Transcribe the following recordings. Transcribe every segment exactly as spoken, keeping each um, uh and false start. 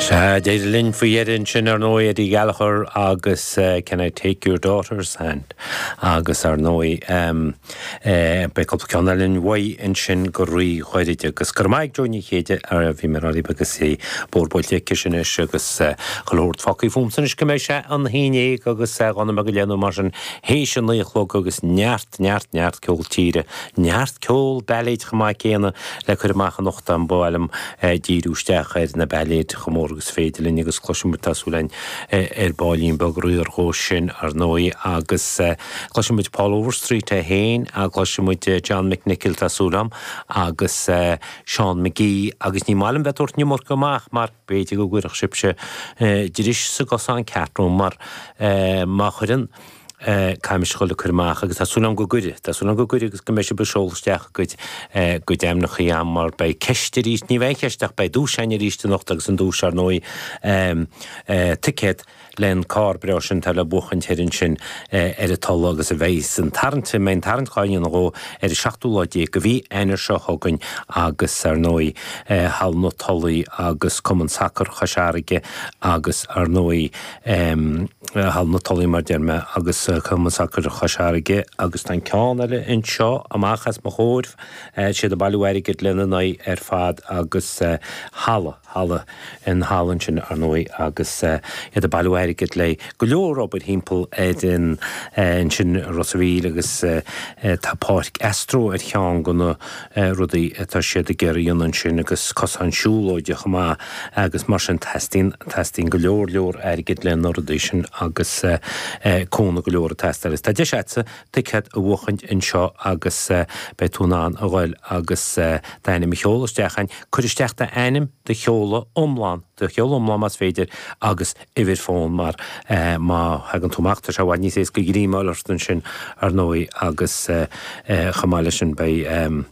Sea, d'éirigh linn faoi dheireadh ansin ar ndóigh Eddie Gallagher agus uh, Can I Take Your Daughter's Hand agus ar ndóigh um, uh, beidh cúpla ceann eile uaidh ansin go ríghairid agus gur maith Joe Ní Chéide ar bhí mé rá agus é bórbailte sin agus cholóirt facaí fum san is go mbeidh sé an hínéig agus gona go léanú mar sin théis a naoi a chlog agus neart neart neart ceol tíre, neart ceol bailéid chomh maith céanna le cur amach anocht an bhil díriú isteach ar na bailéid chomh mór agus féidir linn agus cloisfimid tá súil againn ar baillín beag riar dhó sin ar ndóigh agus cloisfimid Paul Overstreet é féin a cloisfimid John McNichol tá súil agam agus Seán McGee agus ní maith liom bheith tabhairt an iomarca amach mar b'fhéidir go gcuirfeadh sibhse dris sa gcosán ceart mar má chuireann caimis chuile cur amach agus tá súil agam go gcuirfidh, Tá súil agam go gcuirfidh agus go mbeidh sibh ag seoladh isteach go go deimhneachaí am mar beidh ceist arís, ní bheidh ceist ach beidh duais againn arís anocht agus an duais ar ndóigh ticéad len carr breá sin tá le buachan ar sin ar an Tulaigh agus a bheidh san tarraingt mé an tarraingt á dhéanamh dhó ar an seachtú lá déag de mhí Eanáir seo chugainn agus ar ndóigh Halla na Tulaí agus Cumann Sacair Chois Fharraige agus ar ndóigh Halla na Tulaí mar deir mé agus Cumann Sacair Chois Fharraige agus tá an ceann eile anseo amach as mo chomhair siad ag bailiú airgid lena n-aghaidh ar fad agus halla halla in halla ansin ar ndóigh agus iad ag bailiú airgid le go leor obair thimpeall ar an ansin Ros an Mhíl agus tá páirc Astro ar cheann de na rudaí atá siad ag iarraidh a dhéanamh ansin agus cosán siúlóide chomh maith agus mar sin teastaíonn teastaíonn go leor leor airgid le na rudaí sin agus cúnamh go leor ag teastáil. Tá deis agatsa ticéad a bhuachaint anseo agus beidh tú in ann a ghoil agus d'ainm a sheoladh isteach ann, cuir isteach d'ainm do sheoladh iomlán do sheoladh iomlán más féidir agus uimhir fón mar má thagann tú amach tá sé i bhfad níos éasca greim a fháil ort ansin ar ndóigh agus chomh maith leis sin beidh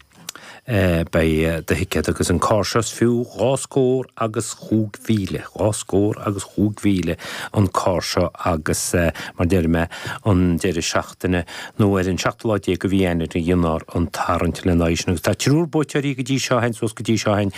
beidh do thicéad agus an carr seo is fiú dhá scór agus chúig mhíle, dhá scór agus chúig mhíle an carr seo agus mar deir mé an deireadh seachtaine nó ar an seachtú lá déag de mhí Eanáir a dhéanfar an tarraingt lena aghaidh sin agus tá triúr buaiteoirí go dtí seo hain suas go dtí seo hain